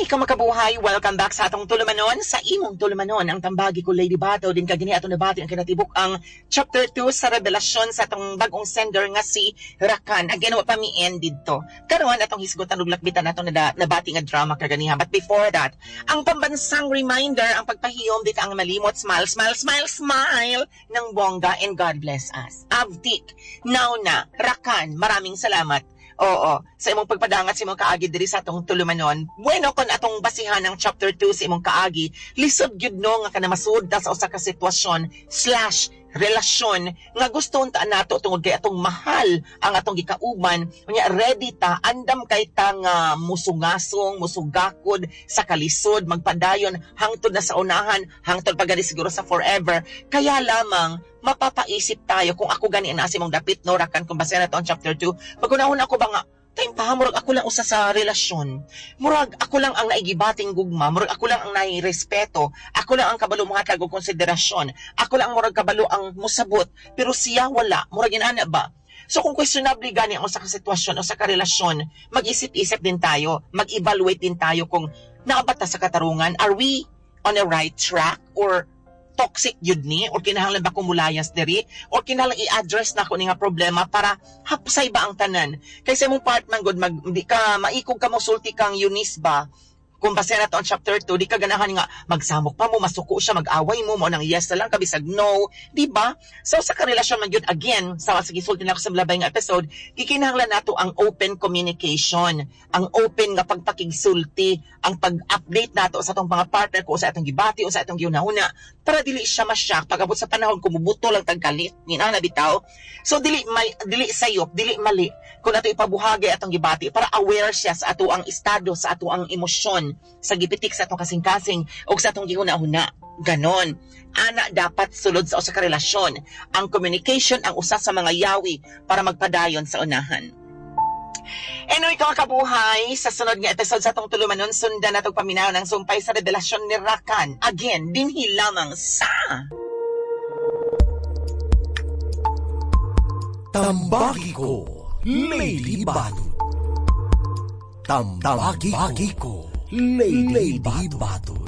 Ikaw makabuhay, welcome back sa atong tulumanon, sa imong tulumanon, ang Tambagi Ko, Lady Bato, din kagini atong nabati ang kinatibuk ang chapter 2 sa revelasyon sa atong bagong sender nga si Rakan. Again, wa pa mi end didto. Karon atong hisgutan ug lakbitan atong nabati nga drama kaganiha. But before that, ang pambansang reminder, ang pagpahiyom, di ka ang malimot, smile, smile, smile, smile ng bongga and God bless us. Avtik, now na, Rakan, maraming salamat. Oo, sa imong pagpadangat sa imong kaagi diri sa atong tulumanon. Bueno, kon atong basihan ang chapter 2 sa imong kaagi, lisod gyud no nga kana masud ta sa usa ka sitwasyon/relasyon nga gusto unta nato tungod kay atong mahal ang atong gikauban. Unya ready ta, andam kay ta nga musungasong, musugakod sa kalisod, magpadayon hangtod na sa unahan, hangtod pa gani siguro sa forever. Kaya lamang mapapaisip tayo kung ako gani ang nasa imong dapit no, Rakan, kung base na to ang chapter 2, pagunahon ako ba nga time pa, murag ako lang usa sa relasyon. Murag ako lang ang naigibating gugma, murag ako lang ang nairespeto, ako lang ang kabalo mohatag og konsiderasyon, ako lang ang murag kabalo ang musabot, pero siya wala, murag inana ba? So kung questionable gani ang usa ka sitwasyon o sa ka relasyon, mag-isip-isip din tayo, mag-evaluate din tayo kung naa ba ta sa katarungan, are we on the right track or toxic yun ni, or kinahanglan ba kumulayas diri, or kinahanglan i-address na ko ni nga problema para hapsay ba ang tanan. Kaysa imong part man gud mag di ka maikog ka mo sulti kang Eunice ba, kung base na to ang chapter 2, di ka ganahan nga magsamok pa mo, masuko siya, mag-away mo, mo nang yes na lang kabisag no, di ba? So sa karelasyon man gyud, again, sa gisulti na ako sa labay nga episode, gikinahanglan nato ang open communication, ang open nga pagpakigsulti, ang pag-update nato sa atong mga partner kung sa atong gibati o sa atong gihuna-huna para dili siya ma-shock pag abot sa panahon kumubuto lang tagkalit, ni na bitaw. So dili may dili sayop, dili mali kung ato ipabuhagay atong gibati para aware siya sa ato ang estado, sa ato ang emosyon, sa gipitik sa atong kasing-kasing o sa atong gihuna-huna. Ganon. Ana dapat sulod sa usa ka relasyon. Ang communication ang usa sa mga yawi para magpadayon sa unahan. Anyway, ikaw kabuhay, sa sunod nga episode sa atong tulumanon, sundan natong paminaw ng sumpay sa revelasyon ni Rakan. Again, dinhi lamang sa Tambagi Ko, Lady Bato. Tambagi Ko, Lady Bato.